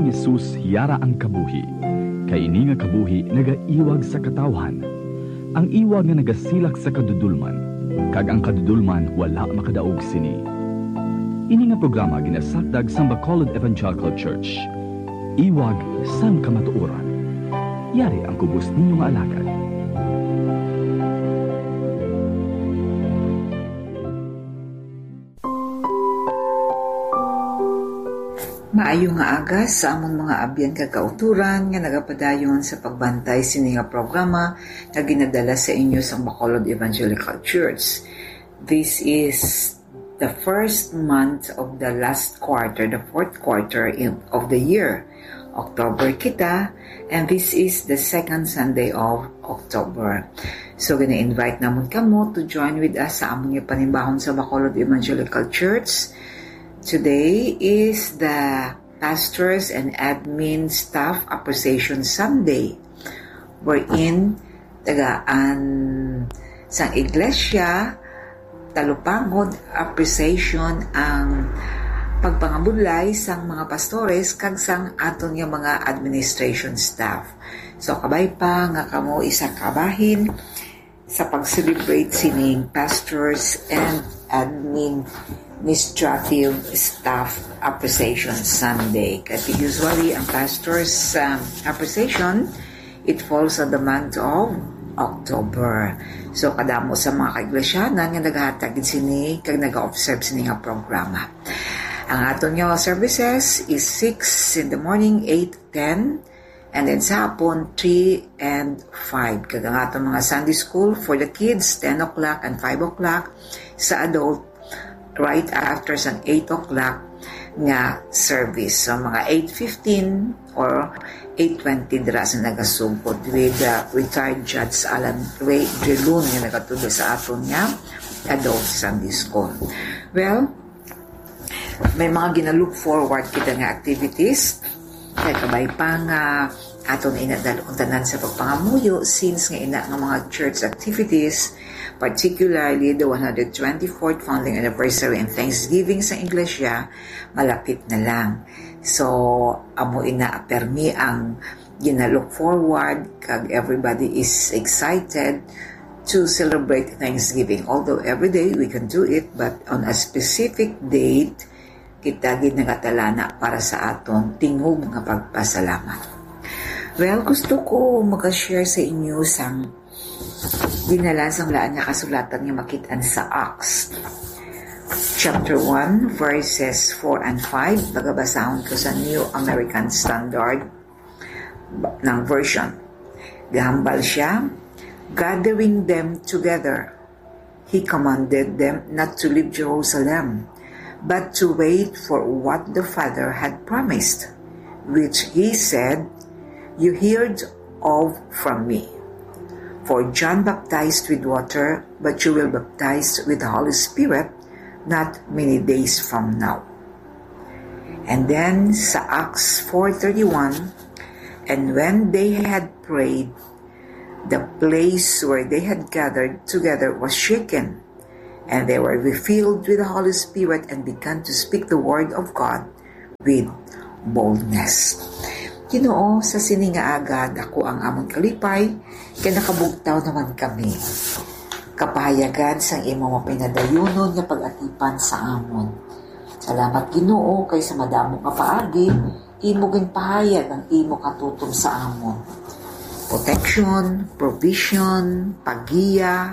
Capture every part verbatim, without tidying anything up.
Jesus yara ang kabuhi, kay ini nga kabuhi nagaiwag sa katawhan. Ang iwag nga nagasilak sa kadudolman, kag ang kadudolman wala makadaog sini. Ini nga programa ginasakdag sang Bacolod Evangelical Church. Iwag sang kamatuoran. Yari ang kubos ninyo nga alagad. Maayo nga aga sa amon mga abyan kag kauturan nga nagapadayon sa pagbantay sini nga programa nga ginadala sa inyo sang Bacolod Evangelical Church. This is the first month of the last quarter, the fourth quarter in, of the year. October kita, and this is the second Sunday of October. So, gina-invite namon kamo to join with us sa amon nga panimbahon sa Bacolod Evangelical Church. Today is the Pastors and Admin Staff Appreciation Sunday, wherein tagaan sang iglesia talupangod appreciation ang pagpangabudlay sang mga pastores kag sang aton nga mga administration staff. So, kabay pa nga kamo isa ka bahin sa pag-celebrate sining Pastors and Administrative Staff Appreciation Sunday. Kasi usually, ang Pastors, um, Appreciation, it falls on the month of October. So, kadamo sa mga kaiglesyana nga naghatag gid sini kag nag-observe sini nga programa. Ang aton nga services is six in the morning, eight, ten, and then sa hapon, three and five. Kag ang aton mga Sunday school for the kids, ten o'clock and five o'clock. Sa adult, right after sang eight o'clock nga service. So, mga eight fifteen or eight twenty dira sa nagasugod with, uh, retired Judge Alan Ray Drilon nga nagatudlo sa aton nga adult Sunday school. Well, may mga gina-look forward kita nga activities. Kay kabay pa nga aton ina dal-on tanan sa pagpangamuyo, since nga ina nga mga church activities, particularly the one hundred twenty-fourth founding anniversary and Thanksgiving sa Iglesia, malapit na lang. So, amo ina permi ang gina-look forward, kag everybody is excited to celebrate Thanksgiving. Although every day we can do it, but on a specific date, kita gid nagatalana para sa aton tingog nga pagpasalamat. Well, gusto ko mag-share sa inyo sang dinala sang Balaan nga Kasulatan nga makit-an sa Acts. Chapter one, verses four and five, pagabasahon ko sa New American Standard ba-, ng version. Gahambal siya, gathering them together, he commanded them not to leave Jerusalem, but to wait for what the Father had promised, which he said, "You heard of from me. For John baptized with water, but you will baptize with the Holy Spirit not many days from now." And then sa Acts four thirty-one, "And when they had prayed, the place where they had gathered together was shaken, and they were filled with the Holy Spirit and began to speak the word of God with boldness." Ginoo, sa sini nga aga, dako ang amon kalipay, kay nakabugtaw naman kami. Kapahayagan sang imo mapinadayunon nga pag-atipan sa amon. Salamat, Ginoo, kay sa madamo nga paagi, imo ginpahayag ang imo katutom sa amon. Protection, provision, paggiya.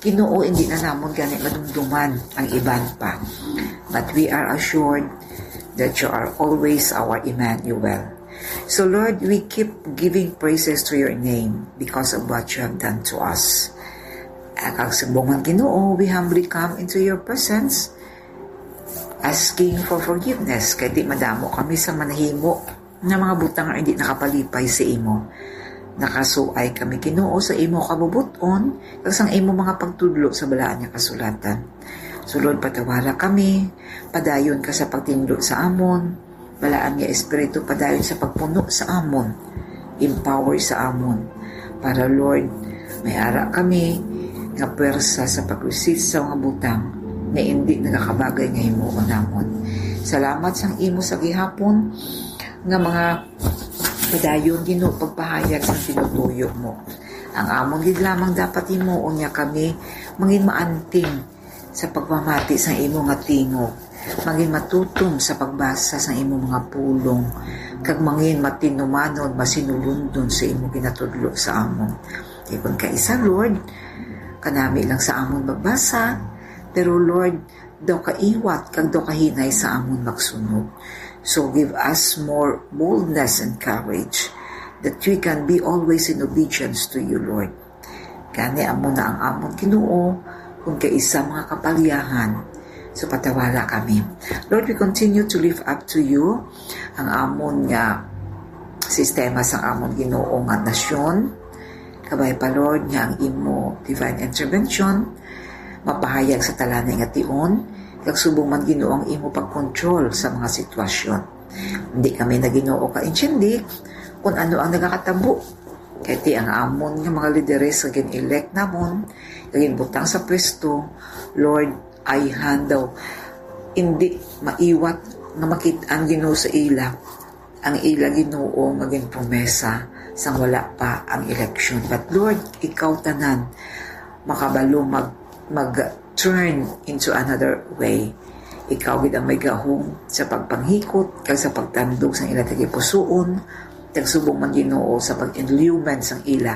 Ginoo, hindi na namon gani madumduman ang iban pa. But we are assured that you are always our Emmanuel. So, Lord, we keep giving praises to your name because of what you have done to us. Kag subong man, Ginoo, we humbly come into your presence asking for forgiveness, kay di madamo kami sa manahimo nga mga butang nga hindi nakapalipay sa imo. Nakasuay kami, Ginoo, sa imo kabubot-on kag sang imo mga pagtudlo sa Balaan nga Kasulatan. So, Lord, patawala kami, padayon ka sa pagtinlo sa amon, Balaan nga Espiritu, padayon sa pagpuno sa amon, empower sa amon, para, Lord, may ara kami nga pwersa sa pag-resist sa mga butang nga indi nagakabagay nga himuon namon. Salamat sang imo sa gihapon. nga mga padayon, Ginoo, pagpahayag sa tinutuyo mo. Ang amon gid lamang dapat himuon nga kami mangin maanting sa pagpamati sa imo nga tingog, mangin matutom sa pagbasa sa imo mga pulong, kag mangin matinumanon, masinulundon sa imo ginatudlo sa amon. Ikon kaisa, Lord, kanami lang sa amon magbasa, pero Lord, daw kaiwat kag daw kahinay sa amon magsunog. So give us more boldness and courage that we can be always in obedience to you, Lord. Gani amo na ang amon Ginoo, kung kaisa mga kapalyahan. So patawala kami. Lord, we continue to lift up to you ang amon nga sistema sang amon Ginoo nga nasyon. Kabay pa, Lord, nga ang imo divine intervention mapahayag sa talanay nga tion, kag subong man, Ginoo, ang imo pagkontrol sa mga sitwasyon. Hindi kami na, Ginoo, kaintindi kung ano ang nagakatabo. Kay ti ang amon nga mga lideres nga gin-elect namon, nga ginbutang sa pwesto, Lord, ayhan daw, hindi maiwat nga makit-an, Ginoo, sa ila ang ila, Ginoo, nga ginpromesa sang wala pa ang eleksyon. But Lord, ikaw tanan makabalo mag, mag turn into another way. Ikaw gid ang may gahom sa pagpanghikot kag sa pagtandog sang ila tagipusoon, kag subong man, Ginoo, sa pag-illuminate sang ila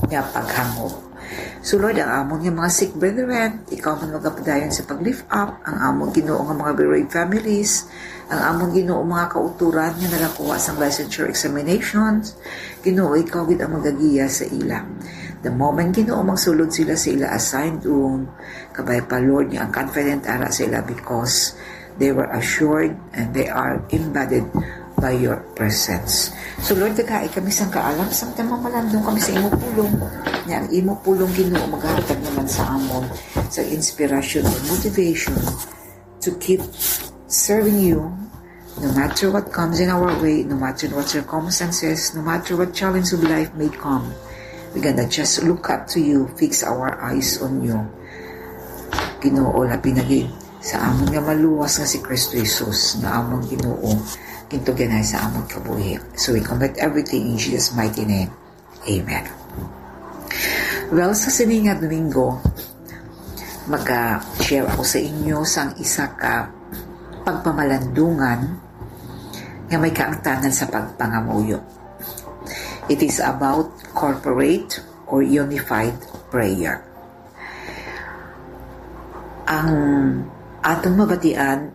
nga paghangop. So Lord, ang amon nga mga sick brethren, ikaw man magapadayon sa pag-lift up, ang amon, Ginoo, nga mga bereaved families, ang amon, Ginoo, mga kautoran nga nagakuha sang licensure examinations, Ginoo, ikaw gid ang magagiya sa ila. The moment, Ginoo, magsulod sila sa ila assigned room, kabay pa, Lord, nga ang confident ara sa ila, because they were assured and they are embodied by your presence. So Lord, daghaay kami sang kaalam, samtang mamalandong kami sa imo pulong, nga ang imo pulong, Ginoo, maghatag naman sa amon sa inspirasyon and motivation to keep serving you, no matter what comes in our way, no matter what circumstances, no matter what challenge of life may come. We're gonna just look up to you, fix our eyes on you. Ginoo, labi na gid sa amon nga maluwas nga si Kristo Jesus, nga amon Ginoo, gintugyanay sa amon kabuhi. So we commit everything in Jesus' mighty name. Amen. Well, sa sini nga Domingo, maga-share ako sa inyo sang isa ka pagpamalandungan nga may kaangtanan sa pagpangamuyo. It is about corporate or unified prayer. Ang aton mabatian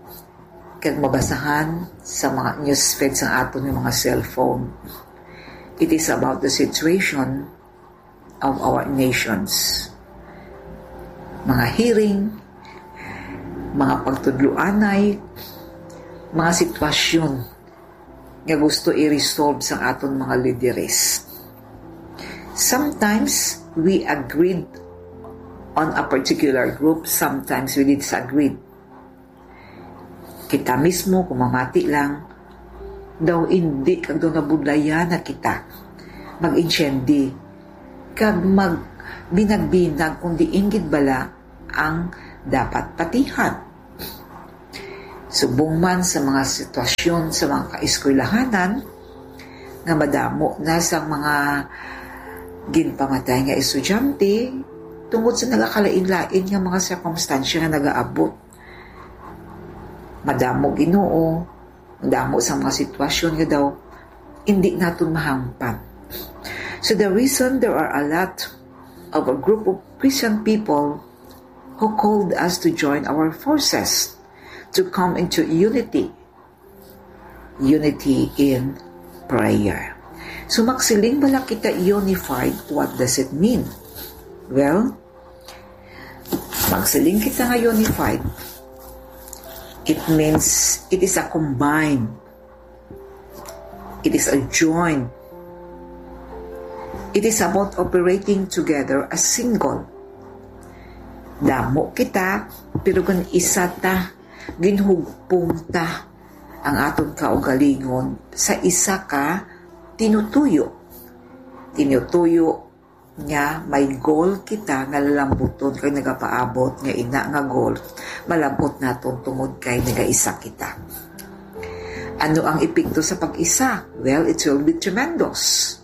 kag mabasahan sa mga newsfeed sa aton nga mga cellphone, it is about the situation of our nations. Mga hearing, mga pagtudloanay, mga sitwasyon nga gusto i-resolve sang aton mga lideres. Sometimes we agreed on a particular group, sometimes we disagreed. Kita mismo, kung mamati lang, daw hindi kag daw nabudlayan na kita mag-intindi kag magbinag-binag kung diin gid bala ang dapat patihan. Subong man sa mga sitwasyon sa mga kaeskwelahanan nga madamo na sa mga ginpamatay nga estudyante tungod sa nagakalain-lain nga mga sirkumstansya nga nagaabot. Madamo, Ginoo, madamo sa mga sitwasyon nga daw hindi naton mahangpan. So the reason there are a lot of a group of Christian people who called us to join our forces to come into unity, unity in prayer. So magsiling bala kita unified, what does it mean? Well, magsiling kita nga unified, it means it is a combined, it is a joint, it is about operating together as single. Damo kita, pero kun isa ta, ginhugpong ta ang aton kaugalingon sa isa ka tinutuyo. Tinutuyo nga may goal kita nga lalambuton kag nagapaabot nga ina nga goal malab-ot naton tungod kay nagaisa kita. Ano ang epekto sa pag-isa? Well, it will be tremendous.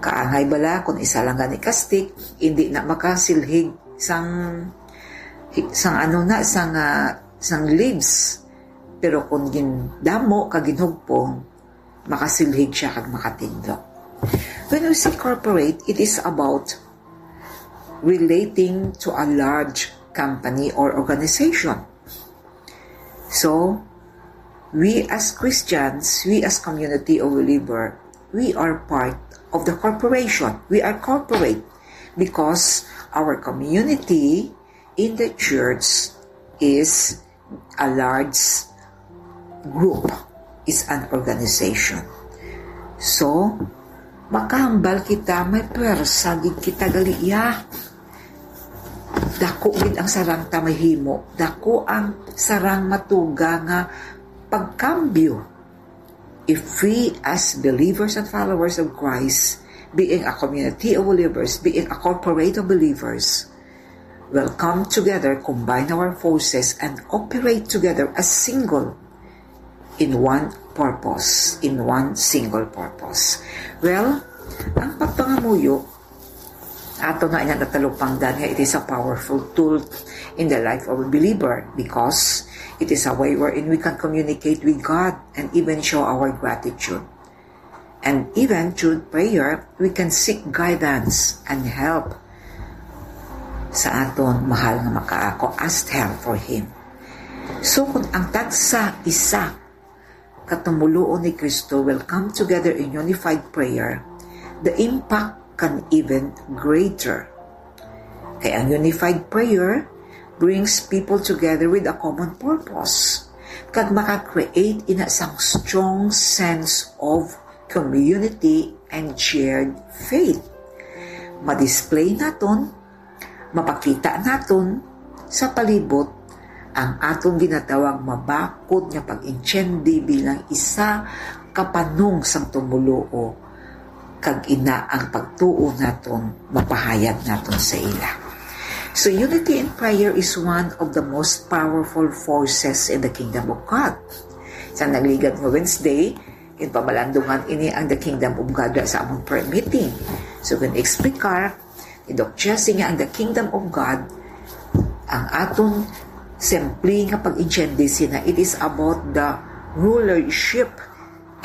Kaangay bala kung isa lang gani ka stick, hindi na makasilhig sang, sang ano na, sang, ah, sang leaves. Pero kung gindamo ka, ginhugpong, makasilhig siya kag makatindog. When we say corporate, it is about relating to a large company or organization. So, we as Christians, we as community of believer, we are part of the corporation. We are corporate because our community in the church is a large group, is an organization. So, makahambal kita, may pwersa gid kita gali iya. Dako gid ang sarang ta mahimo, dako ang sarang matuga nga pagkambyo. If we as believers and followers of Christ, being a community of believers, being a corporate of believers, will come together, combine our forces, and operate together as single in one purpose, in one single purpose. Well, ang pagpangamuyo ato na ina natalupangdan nga it is a powerful tool in the life of a believer because it is a way wherein we can communicate with God and even show our gratitude. And even through prayer, we can seek guidance and help sa aton mahal nga makaako. Ask help for Him. So, kung ang tagsa isa ka tumoluo ni Kristo will come together in unified prayer, the impact can even greater. Kay ang unified prayer brings people together with a common purpose kag maka-create ina sang strong sense of community and shared faith. Ma-display naton, mapakita naton sa palibot ang aton ginatawag mabakod nga pag-intiendi bilang isa ka panong sang tumoluo, kag ina ang pagtuo naton mapahayag naton sa ila. So, unity in prayer is one of the most powerful forces in the kingdom of God. Sa nagligad nga Wednesday, ginpamalandungan ini ang the kingdom of God sa among prayer meeting. So, kung explicar ni Doc Jesse nga ang the kingdom of God, ang aton simple nga pag-intiendi sina, it is about the rulership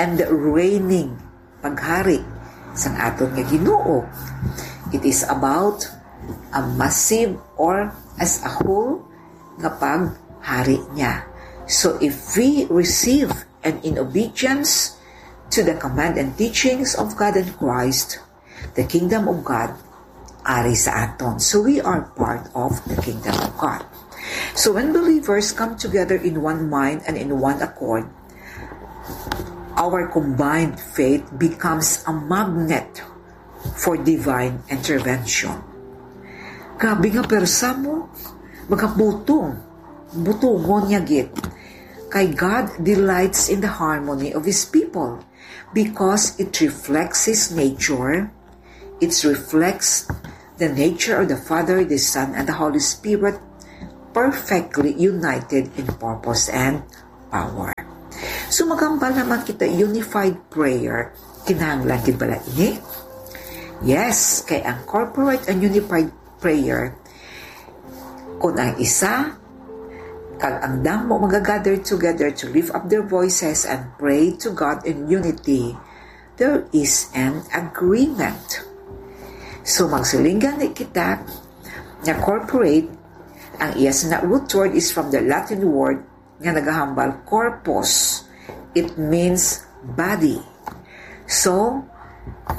and the reigning, paghari sang aton nga Ginoo. It is about a massive or as a whole nga paghari niya. So if we receive and in obedience to the command and teachings of God and Christ, the kingdom of God ari sa aton. So we are part of the kingdom of God. So when believers come together in one mind and in one accord, our combined faith becomes a magnet for divine intervention. Grabe nga pwersa mo, magabutong, butungon niya gid. Kay God delights in the harmony of His people because it reflects His nature. It reflects the nature of the Father, the Son, and the Holy Spirit, perfectly united in purpose and power. So, magambal naman kita, unified prayer. Kinahanglan gid bala ini? Yes, kay ang corporate and unified prayer, kung ang isa kag ang damo magagather together to lift up their voices and pray to God in unity, there is an agreement. So, magsiling gani kita nga corporate, ang iya sina root word is from the Latin word nga nagahambal corpus. It means body. So,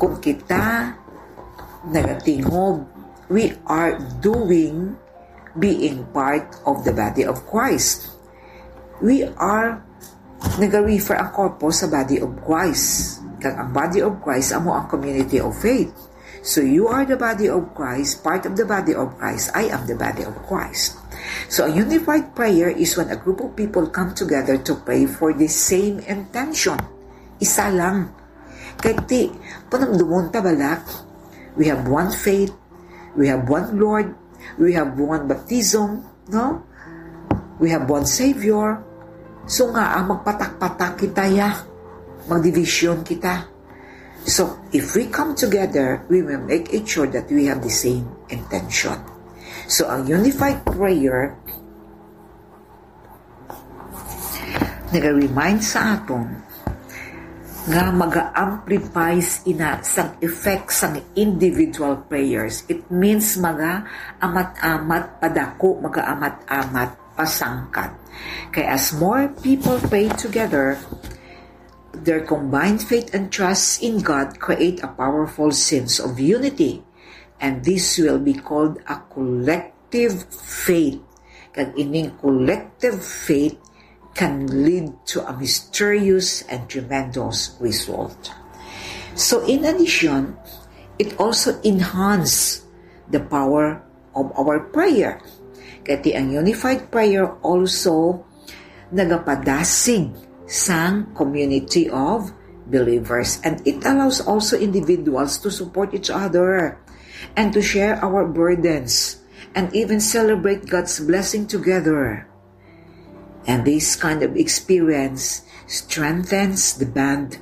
kung kita nagatingog, we are doing being part of the body of Christ. We are nag-refer ang corpus sa body of Christ. Kag ang body of Christ amo ang community of faith. So you are the body of Christ, part of the body of Christ, I am the body of Christ. So a unified prayer is when a group of people come together to pray for the same intention. Isa lang. Kay ti, panumdumon ta bala, we have one faith, we have one Lord, we have one baptism, no? We have one Savior. So nga, ang magpatak-patak kita, ya, magdivision kita. So, if we come together, we will make it sure that we have the same intention. So, ang unified prayer, nag-remind sa aton nga mag-amplifies ina sang effect sang individual prayers. It means mag-amat-amat padako, mag-amat-amat pasangkat. Kay as more people pray together, their combined faith and trust in God create a powerful sense of unity. And this will be called a collective faith. Kag ining collective faith can lead to a mysterious and tremendous result. So in addition, it also enhance the power of our prayer. Kay ang unified prayer also nagapadasig sang community of believers, and it allows also individuals to support each other and to share our burdens and even celebrate God's blessing together. And this kind of experience strengthens the bond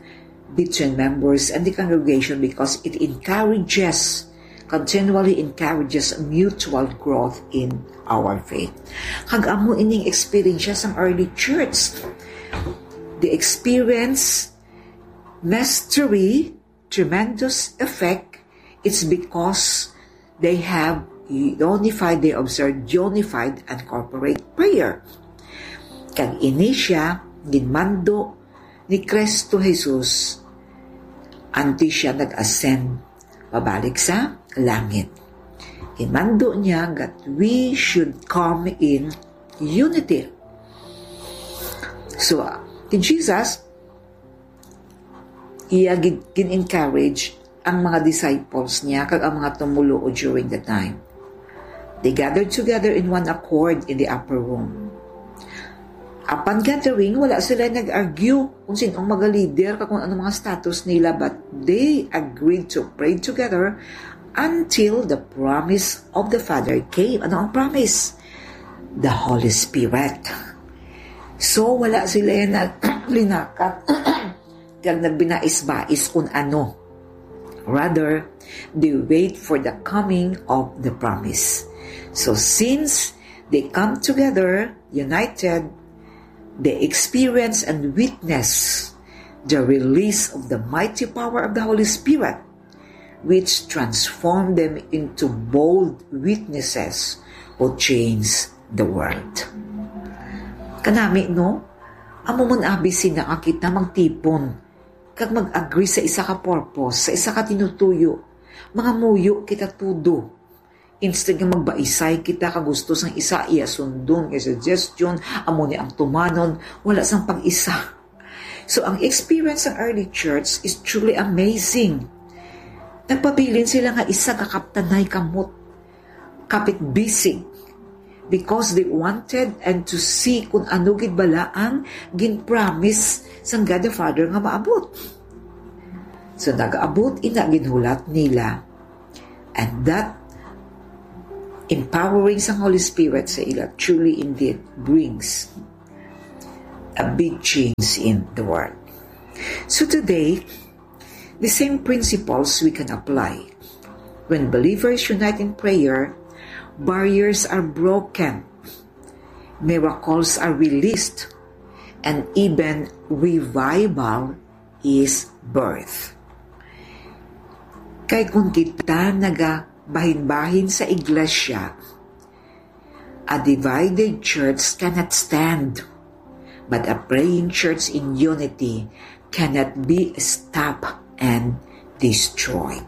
between members and the congregation because it encourages, continually encourages mutual growth in our faith. Kag amo ining experience sang early church. The experience mastery tremendous effect, it's because they have unified, they observe unified and corporate prayer. Kag ini sia ginmando ni Kristo Jesus antes sia nag-ascend pabalik sa langit. Ginmando niya that we should come in unity. So, uh, si Jesus, iya gid gin-encourage ang mga disciples niya kag ang mga tumoluo during the time. They gathered together in one accord in the upper room. Upon gathering, wala sila nag-argue kung sino ang magalider kag kung ano mga status nila, but they agreed to pray together until the promise of the Father came. Ano ang promise? The Holy Spirit. So, wala sila nag-, linakat kag nagbinais-bais kung ano. Rather, they wait for the coming of the promise. So, since they come together, united, they experience and witness the release of the mighty power of the Holy Spirit, which transformed them into bold witnesses who changed the world. Kanami, no? Amo man abi sina nga kita magtipon kag mag-agree sa isa ka purpose, sa isa ka tinutuyo. Mangamuyo kita tudo. Instead nga magbaisay kita ka gusto sang isa iya sundon nga suggestion, amo ni ang tumanon, wala sang pag-isa. So, ang experience sang early church is truly amazing. Nagpabilin sila nga isa ka kaptanay kamot, kapit bisig, because they wanted and to see kung ano gid bala ang gin-promise sang God the Father nga maabot. So, nag-abot ina ginhulat nila. And that empowering sang Holy Spirit sa ila truly indeed brings a big change in the world. So today, the same principles we can apply. When believers unite in prayer, barriers are broken, miracles are released, and even revival is birth. Kay kung kita nagabahin-bahin sa iglesia, a divided church cannot stand, but a praying church in unity cannot be stopped and destroyed.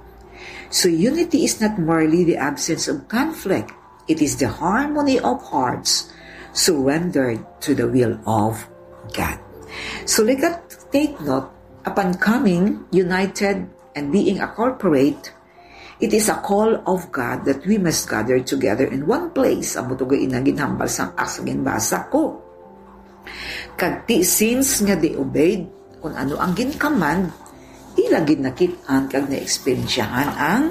So unity is not merely the absence of conflict, it is the harmony of hearts surrendered to the will of God. So let us take note, upon coming united and being a corporate, it is a call of God that we must gather together in one place. Amo to gid ang ginhambal sang Acts nga ginbasa ko. Kag ti, since nga they obeyed kung ano ang gin-command, ila gid nakit-an kag naeksperyensyahan ang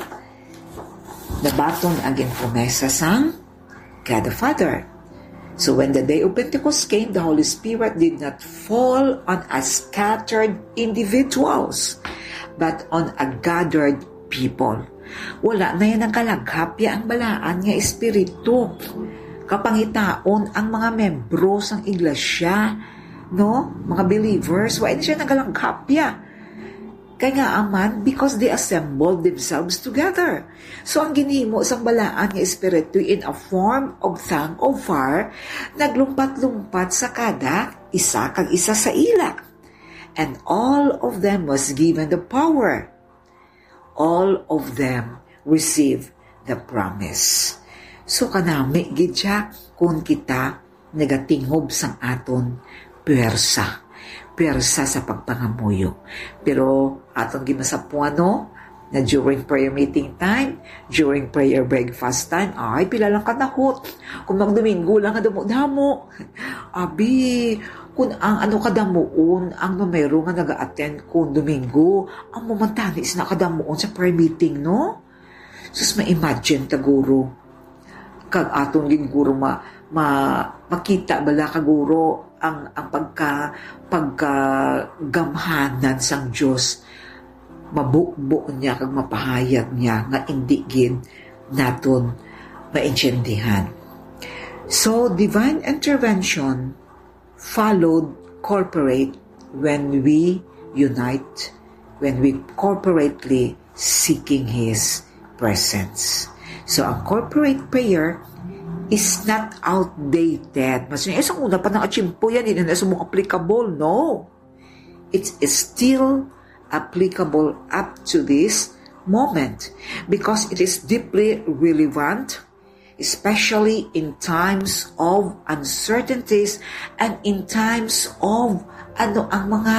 nabaton nga ginpromesa sang God the Father. So when the day of Pentecost came, the Holy Spirit did not fall on a scattered individuals, but on a gathered people. Wala na yan ang kalaghapya ang balaan nga espiritu. Kapangitaon ang mga membro sang iglesia, no? Mga believers, wala na siya nagkalaghapya. Kay nga aman, because they assembled themselves together. So, ang ginhimo sang balaan nga espiritu in a form of tongue of fire, naglumpat-lumpat sa kada isa kag isa sa ila. And all of them was given the power. All of them receive the promise. So, kanami gid siya kung kita nagatingob sang aton pwersa. Pwersa sa pagpangamuyo. Pero aton gimasapuan, no, na during prayer meeting time, during prayer breakfast time, ay, pila lang kadahot. Kung magdomingo lang nga damo-damo. Abi, kung ang ano kadamuon ang numero nga naga-attend kung Domingo, ang mamantani sina kadamuon sa prayer meeting, no? Sus, ma-imagine ta, guro. Kag aton gid, guro, ma, ma, makita bala ka, guro, ang, ang pagka, pagkagamhanan sang Dios. Mabukbo niya kag mapahayag niya nga indi gid naton maintindihan. So, divine intervention followed corporate when we unite, when we corporately seeking His presence. So, ang corporate prayer is not outdated. Mas yung isang una pa ng atsimpo yan, hindi na subong applicable. No. It's still applicable up to this moment because it is deeply relevant, especially in times of uncertainties and in times of ano ang mga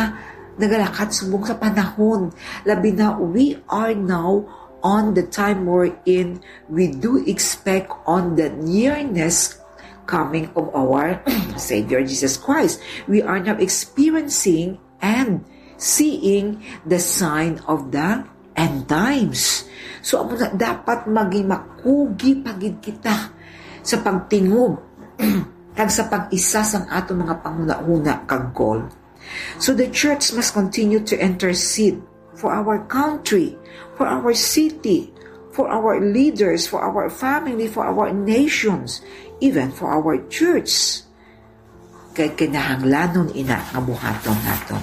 nagalakat subong sa panahon. Labi na, we are now on the time wherein we do expect on the nearness coming of our Savior Jesus Christ. We are now experiencing and seeing the sign of the end times. So, amo na, dapat maging makugi pa gid kita sa pagtingob kag sa pag-isa sang aton mga panghunahuna kag goal. So the church must continue to intercede for our country, for our city, for our leaders, for our family, for our nations, even for our church. Kay kinahanglanon ina nga buhaton naton.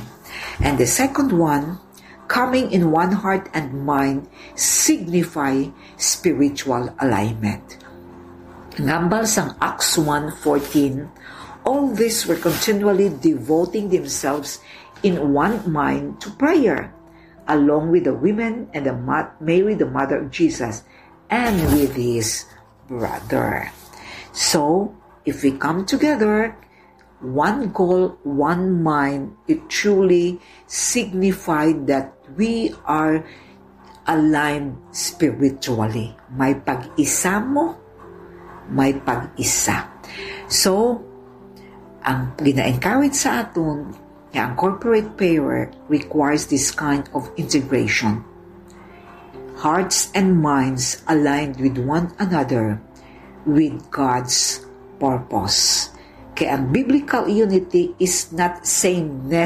And the second one, coming in one heart and mind signify spiritual alignment. Ngambal sang Acts one fourteen, all these were continually devoting themselves in one mind to prayer, along with the women and the ma-, Mary, the mother of Jesus, and with his brother. So, if we come together, one goal, one mind, it truly signified that we are aligned spiritually. May pag-isa mo, may pag-isa. So, ang gina-encourage sa aton nga ang corporate prayer requires this kind of integration. Hearts and minds aligned with one another with God's purpose. Kay ang biblical unity is not sameness